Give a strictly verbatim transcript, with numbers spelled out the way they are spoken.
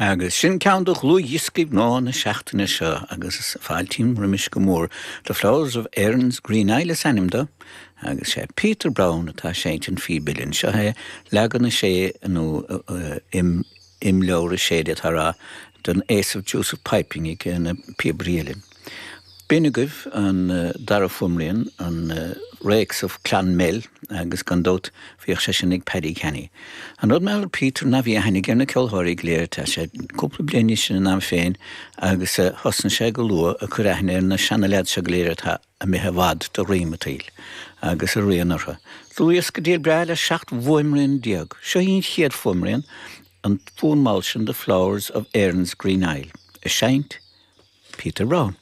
Agus sin ceann de dhlúthdhioscaí nua na seachtaine seo agus fáiltím roimis go mór The Flowers of Erin's Green Isle is ainm dó, agus sé Peter Brown atá seinnt an phíb uilleann seo é leagan a sé nó imleabhar a sé atá den Ace of Deuce of Piping ag na píobairí uilleann. B'in agaibh an dara fuaimrian an Rakes of Clonmel agus gan dabht bhíodh sé sin ag Paddy Canny. An rud mar Peter ná bhí aithne aige ar na ceoltóirí go léir tá sé cúpla bliain sin in am féin agus thosnaigh sé go luath ag cur aithne ar na seanaleaid seo go léir atá imithe i bhfad de dhroim an tsaoil agus a rian orthu. Dlúthdhiosca diail breá le seacht bhfuaimrian déag. Seo í an chéad fuaimrian an fonn mall sin The Flowers of Erin's Green Isle. Ag seinnt Peter Brown.